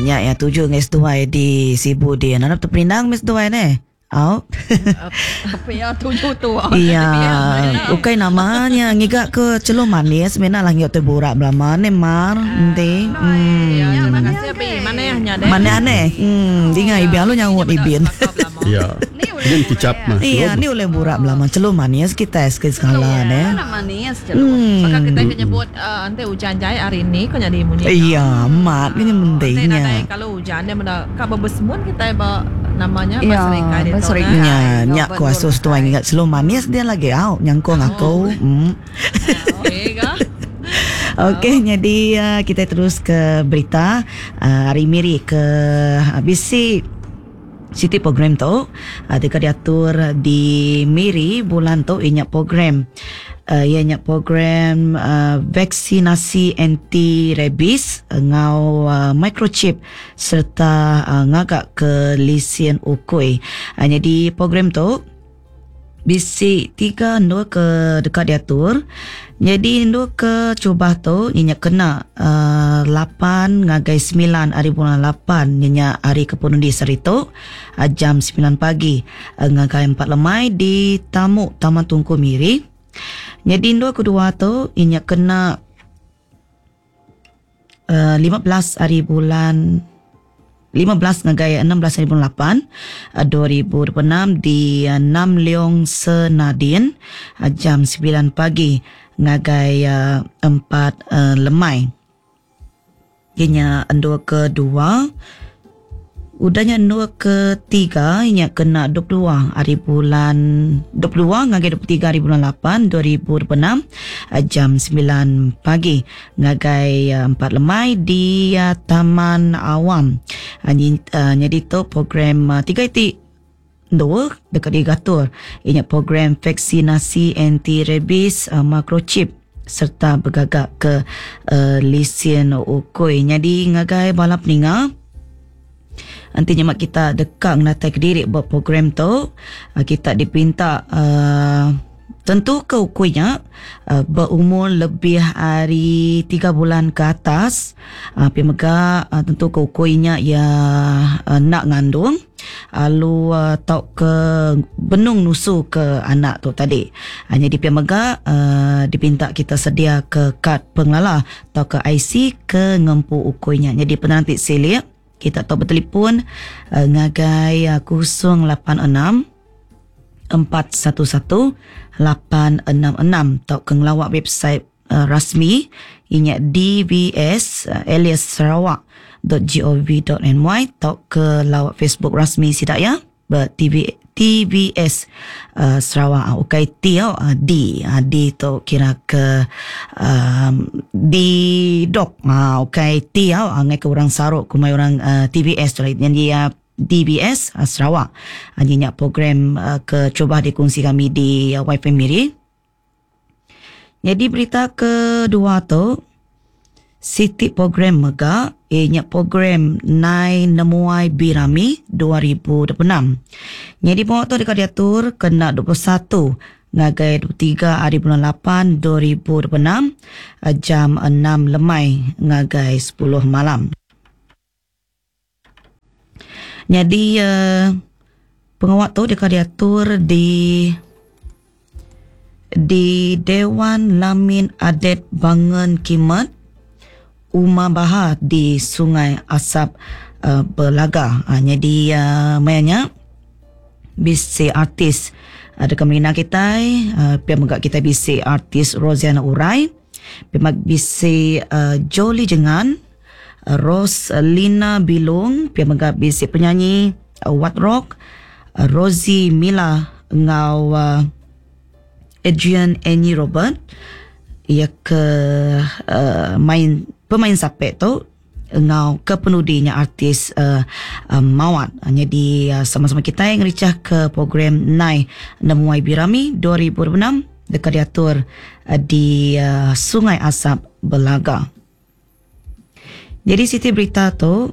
Nya ya tuju ngai seduai di Sibu din. Arap teperindang meh seduai neh. Au. Pia tuju tu. Iya, ukai nama nya ngiga ke chelum manis mina lah ngiuk tai burak belama neh mar enti. Hmm. Ya, terima kasih abi. Manah nya deh. Manah neh. Hmm, dinga ibin lalu nyaut ibin. Iya. Ngin kicap mah. Iya, ni ulih burak belama chelum manis kitai sekali sekala neh. Iya, manis chelum. Baka kitai ke nyebut enti ujan jai hari ni ko nyadi munyi nya. Iya, amat nya penting nya. Enti nya. nadai kalu ujan dia meda ka bebesemun kitai ba nama nya ba serikai ditu neh. Nya, nya ku asuh seduai ngiga chelum manis dia lagi au nyangkung aku. Okey ga. Okey nyadi kitai terus ke berita ari Miri ke bisi Siti program tu deka diatur di Miri bulan tu iya nya program iya nya program vaksinasi anti rabies enggau microchip sereta ngaga ke lisin ukui. Nyadi program tu Bisi tiga endur ke deka diatur. Nyadi endur ke terubah tu iya nya kena uhh lapan ngagai semilan ari bulan lapan iya nya hari ke penudi sehari tu jam semilan pagi ngagai empat lemai di Tamu Taman Tunku Miri. Nyadi endur kedua tu iya nya kena uhh 15 ari bulan 15 ngagai 16 ari bulan 8 2026 di Nam Leong Senadin jam 9 pagi ngagai 4 lemai. Iya nya endur kedua. Udah nya endur ketiga iya nya kena 22 hari bulan 22 ngagai 23 hari bulan 8 2026 jam 9 pagi ngagai 4 lemai di Taman Awam. Nyadi tu program tiga iti endur deka digatur iya nya program vaksinasi anti rabies microchip sereta begaga ke lisin ukui. Nyadi ngagai bala peninga enti nyema kita deka ngenatai kediri ba program tu kita dipinta uhh Tentuka ukui nya beumur lebih ari tiga bulan ke atas. Pia mega tentuka ukui nya iya enda ngandung lalu tauka benung nusuka anak tu tadi. Nyadi pia mega dipinta kita sediaka kad pengelala tauka IC ke ngempu ukui nya. Nyadi penerang ti silik kita tau betelefon ngagai 086 411 866 tauka ngelawa website rasmi iya nya dvs alias sarawak.gov.my tauka lawa Facebook rasmi sida iya ba TV TVS Sarawak ukai T tau D D tu kira ke um D dog ukai T tau ngaika orang saru kumbai orang TVS tu nyadi DBS Sarawak. Nya nya program ke cuba dikongsi kami di YFM Miri. Nyadi berita kedua tu siti program mega iya nya program Nai Nemuai Birami 2026. Nyadi pengawa tu deka diatur kena 21 ngagai 23 hari bulan 8 2026 jam 6 lemai ngagai 10 malam. Nyadi pengawa tu deka diatur di di Dewan Lamin Adet Bangen Kimet, Uma Baha di Sungai Asap Belaga. Nyadi maya nya bisi artis deka merindang kitai pia mega kitai bisi artis Rosiana Urai, pia mega bisi Jolie Jengan. Rose Lina Bilung pia mega bisi penyanyi Wat Rock, Rosie Mila enggau Adrian Annie Robert iya ke main pemain sapek tu enggau ke penudi nya artis Mawat. Nyadi sama-sama kitai ngerichah ke program Nai Nemuai Birami 2026 deka diatur di Sungai Asap Belaga. Nyadi siti berita tu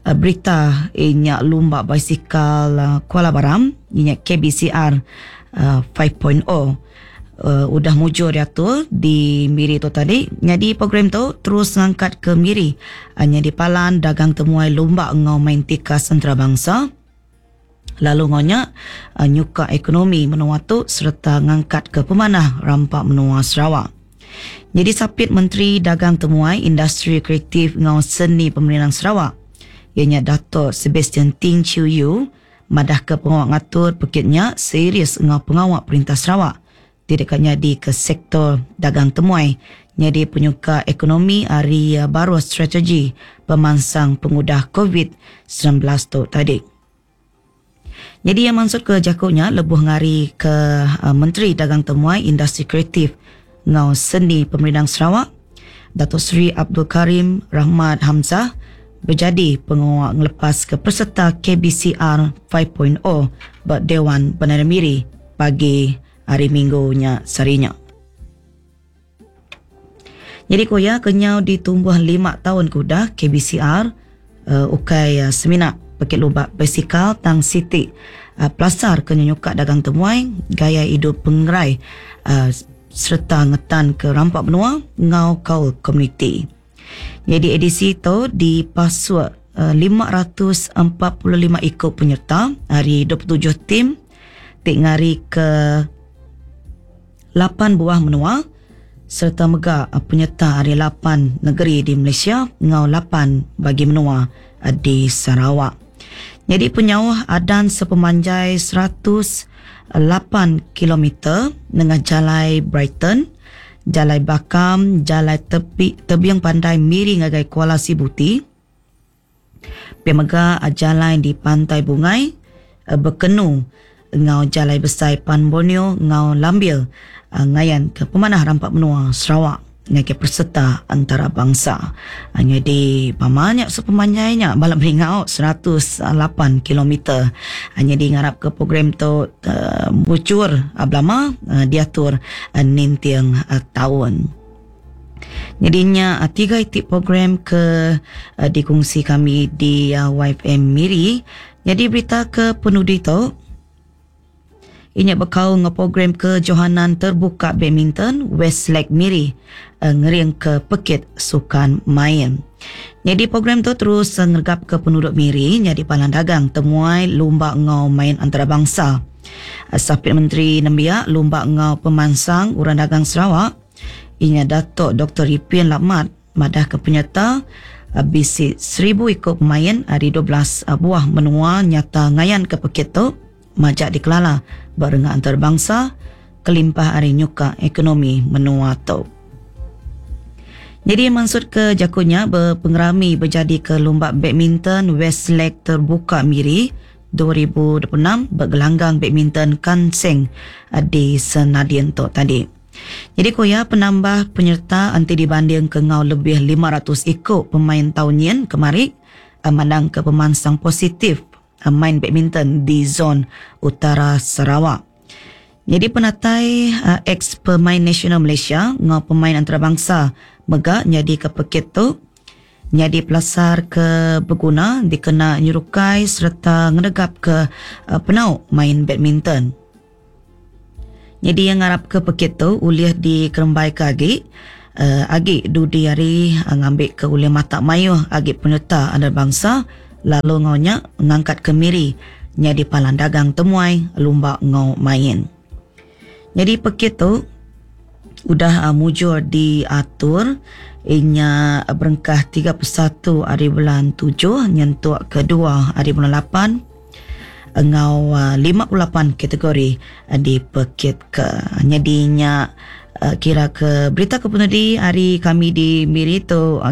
berita inya lumba basikal Kuala Baram inya KBCR 5.0. Udah mujur diatur di Miri tu tadi. Nyadi program tu terus ngangkat ke Miri nyadi palan dagang temuai lumba enggau main tikas entarabangsa lalu enggau nya nyuka ekonomi menua tu sereta ngangkat ke pemanah rampa menua Sarawak. Nyadi Sapit Menteri Dagang Temuai, Industri Kreatif enggau Seni Pemerindang Sarawak iya nya Dato Sebastian Ting Chiew Yew madahka pengawa ngatur pekit nya serius enggau pengawa Perintah Sarawak ti deka nyadika sektor dagang temuai nyadi penyuka ekonomi ari baruh strategi pemansang pengudah Covid 19 tu tadi. Nyadi iya mansutka jaku nya lebuh ngarika Menteri Dagang Temuai, Industri Kreatif enggau Seni Pemerindang Sarawak, Dato Sri Abdul Karim Rahmat Hamzah bejadi pengawa ngelepaska peserta KBCR 5.0 ba Dewan Bandaraya Miri pagi hari Minggu nya sehari nya. Nyadi ku iya, kenyau ditumbuh lima taun ke udah, KBCR ukai semina pekit lumba basikal tang siti pelasar ke nyenyuka dagang temuai, gaya idup pengerai sereta ngetanka rampa menua enggau kaul komuniti. Nyadi edisi tu dipasuk 545 iku penyerta ari 27 tim ti ngarika lapan buah menua sereta mega penyerta ari lapan negeri di Malaysia enggau lapan bagi menua di Sarawak. Nyadi penyauh adan sepemanjai 108 kilometer nengah Jalai Brighton, Jalai Bakam, Jalai Tepi, Tebing Pandai Miri ngagai Kuala Sibuti. Pia mega jalai di Pantai Bungai, Bekenu enggau Jalai Besai Pan Borneo enggau Lambil ngayanka pemanah rampa menua Sarawak ngagai pesereta antarabangsa. Nyadi pama nya sepemanjai nya bala Melingau 108 kilometer. Nyadi ngarapka program tu mujur belama diatur ninting taun. Nyadi nya tiga iti program ke dikongsi kami di YFM Miri. Nyadi berita ke penudi tu inya bekaul enggau program Kejohanan Terbuka Badminton Westlake Miri ngeringka pekit sukan main. Nyadi program tu terus ngeregapka penuduk Miri nyadi palan dagang temuai lumba enggau main antarabangsa. Sapit Menteri Nembiak Lumba enggau Pemansang Orang Dagang Sarawak inya Datuk Doktor Ripin Lamat madahka penyerta bisi 1000 iku pemain ari 12 buah menua nyata ngayanka pekit tu majak dikelala ba renggat antarabangsa kelimpah ari nyuka ekonomi menua tu. Nyadi mansutka jaku nya ba pengerami bejadika Lumba Badminton Westlake Terbuka Miri 2026 ba Gelanggang Badminton Kanseng di Senadin tu tadi. Nyadi ku iya, penambah penyerta enti dibandingka enggau lebih 500 iku pemain taun nyin kemari mandangka pemansang positif main badminton di zon utara Sarawak. Nyadi penatai ex-pemain nasional Malaysia enggau pemain antarabangsa mega nyadika pekit tu nyadi pelasar ke beguna dikena nyerukai sereta ngenegapka penau main badminton. Nyadi iya ngarapka pekit tu ulih dikerembaika agi agi dudi hari ngambika ulih matak mayuh agi penyereta antarabangsa lalu enggau nya ngangkatka Miri nyadi palan dagang temuai lumba enggau main. Nyadi pekit tu udah mujur diatur inya berengkah 31 hari bulan 7 nyentuk ke 2 hari bulan 8 enggau 58 kategori dipekitka. Nyadi nya kira ke berita ke penudi ari kami di Miri tu.